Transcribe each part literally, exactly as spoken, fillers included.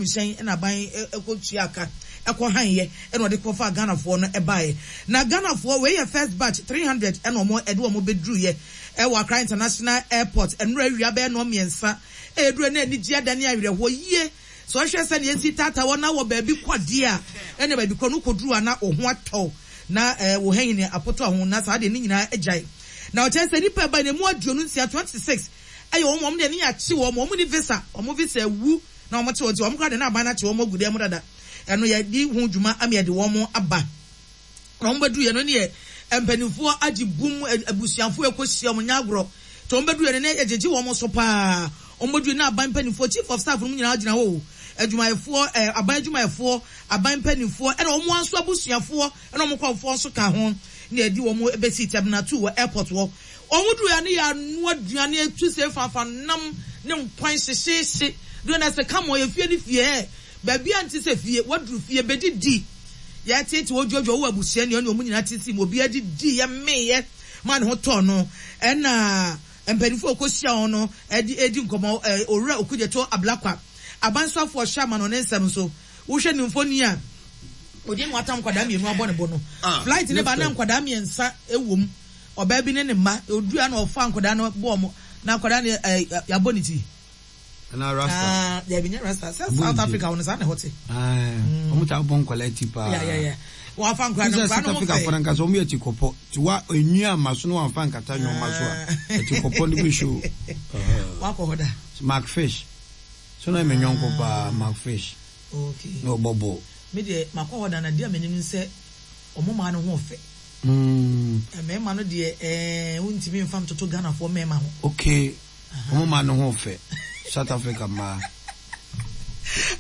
Wiemhyɛn ɛna aban ɛkɔ tua aka ɛkɔ han yɛ ɛna ɔde kɔfa Ghanafoɔ no ɛbaeɛ. Na Ghanafoɔ wei yɛ first batch three hundred ɛna ɔmo ɛde wɔn bɛduru yɛ ɛwɔ Accra International Airport ɛnura awia bɛyɛ nɔɔ mmiɛnsa. Ɛduru ɛna anigye adane awerɛhoɔ yie. Sɛ ɔhwɛ sɛ nea esi tata wɔ na wɔ baabi kɔdeɛ a, ɛna baabi kɔ no kɔduru a, na wo ho atɔ na ɛɛ wo hɛn apotɔ ho na saa deɛ ne nyinaa agyae. Na ɔkyerɛ sɛ nipa ɛba na emu aduonu nsia, twenty six, ɛyɛ wɔn wɔn deɛ ne yɛakye wɔn, wɔn ni visa, wɔn visa ewu na wɔn te wɔn ti wɔn koraa de na aban no akye wɔn agu dan mu dada. Ɛno yɛdi ho dwuma ama yɛde wɔn aba. Na wɔn bɛduru yɛ no ne yɛ mpanimfoɔ agye bum, abusuafoɔ ɛkɔ hyia wɔn nyɛ agorɔ. Tí wɔn bɛduru yɛ no ne yɛgyegye wɔn so paa. Wɔn bɛduru na aban mpanimfoɔ, chief of staff no mu nyinaa gyina hɔ o, adwumayɛfoɔ, ɛɛ aban adwumayɛfoɔ, aban mpanimfoɔ, ɛna wɔn nso abusuafoɔ ɛna wɔn kɔnfoɔ nso ka ho na yɛde wɔn bɛsi Terminal Two wɔ airport hɔ. Wɔn duru yɛ ne yɛ anoa aduane etu sɛ fafa nam ne nkwan hyehyeehye deɛ na sɛ kam yɛ fie ne fie ɛ baabi a nti sɛ fie waduru fie bɛdidi, yɛtete wodwoodwo wɔ abusua ne ɔne ɔmo nyinaa te si mu, obi adidi yɛ mmeyɛ maa ne ho tɔɔ no. Ɛna mpanimfoɔ kɔhyia wɔn no ɛde edi nkɔmɔ. ɛɛ owura Okudzeto Ablakwa, abansoafoɔ ɔhyɛ ama no ne nsɛm so, wohwɛ ne mfoni a odi mu atam nkwadaa mmienu abɔ ne bo no. Ah, flight ne ba na nkwadaa mmiɛnsa ɛwɔ mu, ɔbaa bi ne ne mma. Odua na ɔfa nkwadaa no bɔ ɔmo na nkwadaa no ɛɛ yabɔ ne ti. Ana rasta? Aa, dabi, nyɛ rasta sɛ South Africa wɔn saa na ɛhɔ te. Ɔmo ta bɔ nkwadaa ti paa. Ya ya ya, wɔafa nkwadaa no sɛ nkwadaa South no ho Africa fɛ. Fɔ nankasa ɔmo yɛ ti kɔpɔ ti wa enwi ama so na wɔamfa nkata nneɛma so a ɛti kɔpɔ no bi so. Wakɔ hɔ da? Mark Fish so na ɛmɛ nyɔnko paa, Mark Fish. Okay. Na ɔbɔ bɔɔl. Me deɛ makɔ hɔ da na deɛ m'anim sɛ ɔmo maa no ho ɔfɛ. Mm, mmarima no deɛ, ɛɛ wontumi nfa ntoto Ghanafoɔ mmarima ho. Okay, ɔmo maa no ho fɛ, South Africa mmaa.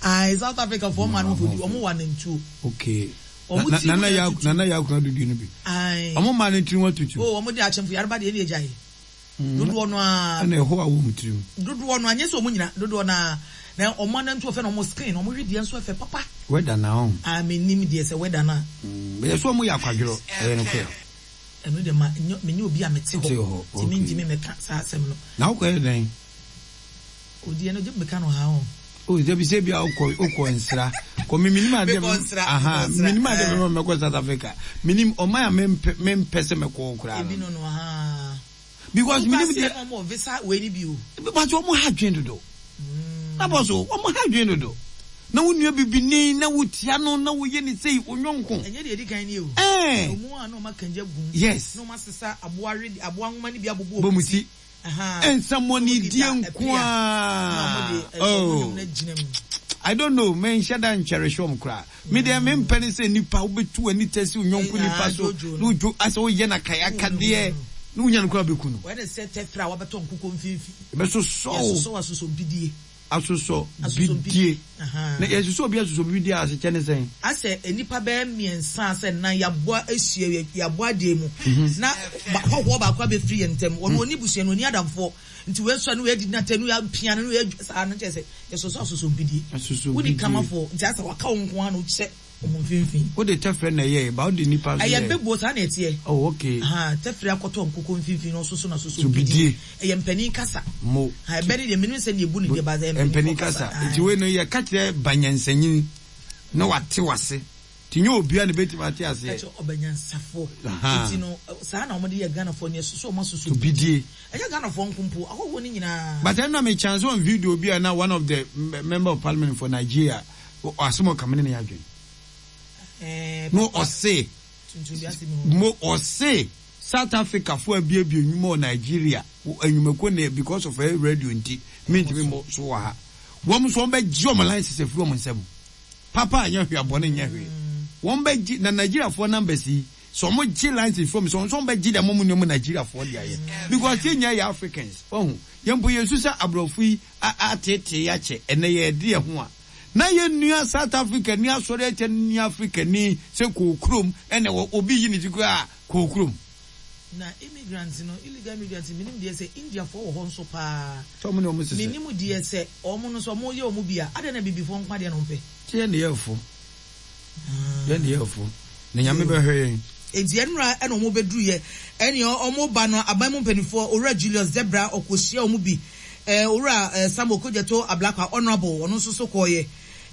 Ayi, South Africa foɔ mmaa no ho fɛ, ɔmo wɔ anantuo. Okay. Ɔmo Na- ti nana mu ya tutu. Nana ya akuna dudu no bi. Ayi. Ɔmo maa no tiri ho atutu. O, ɔmo de akyɛnfo yareba deɛ ɛna egya yi dodoɔ no a. Ɛna ɛhɔ a wɔ mu tirim. Dodoɔ no anyɛ sɛ ɔmo nyina, dodoɔ no a na ɔmo anantuo fɛ na ɔmo skin, ɔmo hwedeɛ nso ɛfɛ papa. Wɛda na ɔho. A menim deɛ sɛ wɛda no a. Bɛyɛ so ɔmo yɛ akwadworɔ, ɛyɛ no korɛ. Ɛno deɛ ma nyɛ menyɛ obi a mete Te hɔ, hɔ nti okay. mentumi mɛka saa asɛm no. Na wokɔ yɛ dɛn? Odiɛ no gye meka no ha o. O, dabi, sɛ bi a wokɔ wokɔ nsra kɔ mi minim adeɛ. Mekɔ nsra, Aha. mekɔ nsra, Minim adeɛ. eh. Mɛmɛ mɛkɔ South Africa, minim ɔman a mempɛ mempɛ sɛ mɛkɔ koraa ebi no no no ha because minim deɛ ɔmo wɔ visa wei ni bi o. But ɔmo ha dwen dodo na bɔ so, ɔmo ha dwen dodo na wo nua bibini na wotia no na woyɛ ne sei wo nyɔnko. Ɛnyɛ deɛ edi kan ni o. Ɛɛ. Ɔmo a na ɔmo akangya gum Yes. na ɔmo asesa aboa we aboa nwoma ni bi abobɔ. Bɔ mu ti. Aha. Nsɛmmɔnedie Ɔmo kita nko ɛpea. Na ɔmo de a ɛ, ɔmo oh nnwom no agyina mu. I don't know, menhyɛ da nkyɛrehwɛ ɔm koraa. Me deɛ mempɛ ne sɛ nipa wobɛtu w'ani tɛ si wo nyɔnko Eh, nipa ah, so jojo na no. wodwo asɛ woyɛ no akayakadeɛ na wonya no koraa bɛku no. Wɔyɛ ne sɛ tɛfrɛ a wabɛtɔ nkokɔ mfimfini. Ɛbɛsosɔ wo. Yɛsosɔ asosɔ bidie. Asosɔ asosɔ bidie. Aha. Na yɛsosɔ obi asosɔ bidie a, asekyɛ ne sɛn? Asɛ nipa bɛyɛ mmiɛnsa sɛ nan yɛabɔ ahyia, yɛabɔ adeɛ mu na ba- hɔhoɔ baako abɛfiri yɛn ntam. Wɔn oni busua no, oni adamfoɔ, nti wei sɔ no, wei adi nata no, apia no, wei adwa saa no kyerɛ sɛ yɛsosɔ asosɔ bidie. Asosɔ wodi bidie. kamafoɔ nti asɛ waka wo nko ara na wokyɛ wɔn mfimfini. Wode tɛfrɛ na ɛyɛ ba wode nipa so ɛyɛ yɛ bɛbuo saa na ɛteɛ. Oh, okay. Aha, tɛfrɛ akɔtɔ nkokɔ mfimfini na ɔsoso na soso So bidie. Ɛyɛ mpanin kasa. Mo. Ha, ɛbɛ ne deɛ menim sɛ deɛ ebu ne deɛ ba sɛ mpanin kasa. Nti wei no yɛka kyerɛ banyansanyini na wate wase nti nyɛ obia na bɛtumi ate aseɛ. Ɛkyɛ ɔbɛnyansafoɔ. Aha. Nti no ɛ, saa na wɔde yɛ Ghanafoɔ ne ɛsoso ɔmo asoso So bidie. Ɛnyɛ Ghanafoɔ nko mpo, ahɔhoɔ no nyinaa. But ɛno na me chance on video bi a na one of the m- member of parliament for Nigeria asɛm ɔka me ne ne adwene. Ɛɛ, no ɔse tuntum bi ase mi ho. Mo ɔse South Africa fo abiebie nnwuma wɔ Nigeria nnwumakuo ne because of ɛyɛ radio nti mentumi mmɔ so wɔ ha. Wɔn nso wɔn bɛgye wɔn license afiri wɔn nsam papa, anyɛ hwee abɔne nyɛ hwee, wɔn bɛgye. Na Nigeriafoɔ numbers yi sɛ wɔn gye license fam sɛ wɔn nso wɔn bɛgye deɛ wɔn nneɛma Nigeriafoɔ de ayɛ because yɛn nyinaa yɛ Africans. Ɔho yɛn mpo yɛn su sɛ aborɔfo yi a- atetee akyɛ ɛnɛ yɛ ɛde yɛn ho a na yɛn nua South Africa ni asɔre akyɛ nua Africa ni sɛ kɔɔ kurom ɛna wɔ- obi yi ne ti koraa kɔɔ kurom. Na immigrants no, illegal immigrants, menim deɛ sɛ Indiafoɔ wɔ hɔ nso paa. Sɛ ɔmo ne ɔmo sisɛ. Menim deɛ sɛ ɔmo no nso ɔmo yɛ ɔmo bi a adɛn na bibifoɔ nko adeɛ na ɔmo pɛ. Kyɛ yɛn ne yɛ fo, yɛn ne yɛ fo na Nyame bɛhwɛ yɛn. Eti ɛnura ɛna ɔmo bɛduru yɛ ɛne ɔmo ba no, aban mu mpanimfoɔ, Owura Julius Debra ɔkɔhyia ɔmo bi, ɛɛ Owura ɛɛ Samuel Okudzeto Ablakwa, honourable, ɔno nso so kɔɔyɛ.